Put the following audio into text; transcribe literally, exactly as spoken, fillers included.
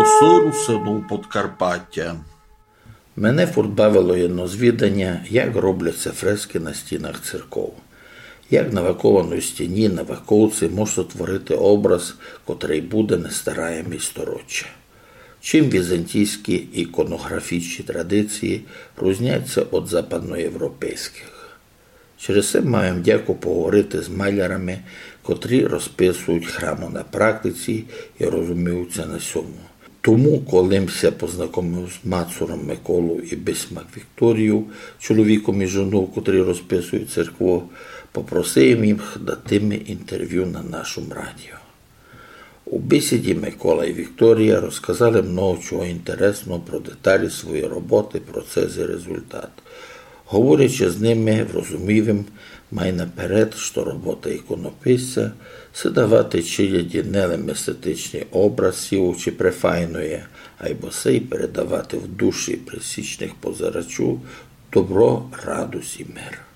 Голосы русинув Подкарпатя. Мене фурт бавило єдно звіданя, як робляться фрескы на стінах церков. Як на вакованій стіні на ваковці мож сотворити образ, котрый буде нестараємый стороччя. Чим візантійські іконоґрафічні традиції рузняться од западноєвропейськых? Через се маю вдяку поговорити з малярами, котрі розписують храмы на практиці і розуміються на сьому. Тому, коли м ся познакомив з Мацуром Миколов і Бисмак Вікторієв, чоловіком і жонов, котрі розписують церкву, попросив їх дати ми інтервю на нашому радіо. У бесіді Микола і Вікторія розказали много чого інтересного про деталі своєї роботы, процес і результат. Говорячи з ними, врозумів им май наперед, што робота іконописця се давати челяді не лем естетичный образ сівучи префайноє, айбо се й передавати в душі пресічных позирачув добро, радость і мир.